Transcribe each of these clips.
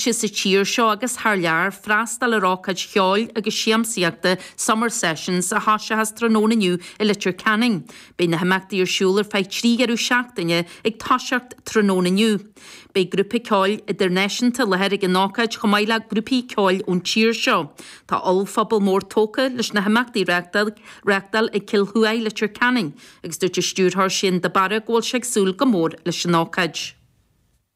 mílte sa tír seo agus thar lear freastal ar ócáid cheoil agus siamsaíochta Summer Sessions a thoiseochas tráthnóna inniu i Leitir Ceanainn. Beidh na himeachtaí ar siúl ar feadh 3 dheireadh seachtaine ag toiseacht tráthnóna inniu. Beidh grúpa ceoil idirnáisiúnta i láthair ag an ócáid chomh maith le grúpaí ceoil ón tír seo. Tá ollphuball mór tógtha leis na himeachtaí a reáchtáil ag Cill Thuaidh Leitir Ceanainn agus dúirt an stiúrthóir Shane de Barra go bhfuil sé ag súil go mór leis an ócáid.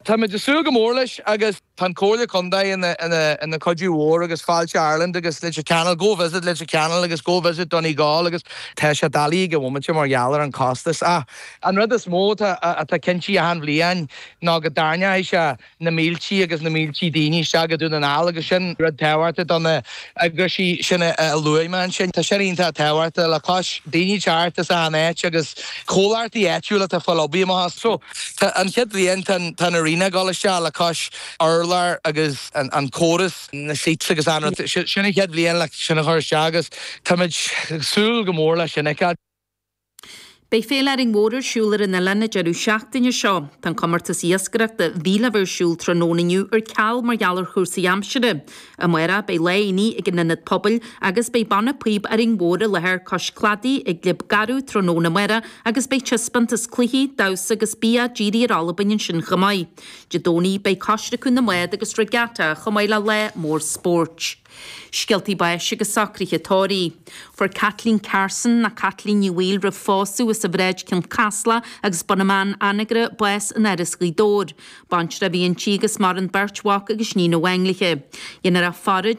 Táimid ag súil go mór leis agus tá an Comhairle Contae ina cuidiú mhór agus Fáilte Ireland agus Leitir Ceanainn, Go Visit Leitir Ceanainn agus Go Visit Donegal agus tá sé doiligh ag an bhomaite mar gheall ar an costas ach an rud is mó atá cinnte achan bhliain ná go dtarraingeoidh sé na míltí agus na míltí daoine isteach go Dún na nGall agus sin rud tábhachtach do na eagraisí sin a luaigh mé ansin. Tá sin iontach tábhachtach le cois daoine teacht as achan áit agus comhlachtaí áitiúla atá ag fáil oibre amach as. So tá an chéad bhliain tá an arena ag dul isteach le cois urlár agus an córas, na seats agus an rud. Sin an chéad bhliain le sin a chur isteach agus táimid ag súil go mór leis sin a fheiceáil. Beidh Féile Árainn Mhór ar siúl ar an oileán an deireadh seachtaine seo. Tá an comórtas iascaireachta a bhí le bheith ar siúl tráthnóna inniu ar ceal mar gheall ar chúrsaí aimsire. Amárach beidh lá aonaigh ag an Ionad Pobail agus beidh Banna Píob Árainn Mhór i láthair cois cladaigh ag Glib Garbh tráthnóna amárach agus beidh taispeántas cluichí, damhsa agus bia dírithe ar Albain ansin chomh maith. Dé Domhnaigh beidh coisreacadh na mbád agus regatta chomh maith le lá mór spóirt. Scéaltaí báis agus socruithe tórraimh. Fuair Caitlín Carson, nó Caitlín Ní Bhaoill roimh phósadh, as an Bhráid Cionn Caslach agus Bun na mBan, Anagaire, bás in Áras Ghaoth Dobhair. Baintreach a bhí inti agus maireann beirt mhac agus níon amháin léi. Dhéanfar a faire.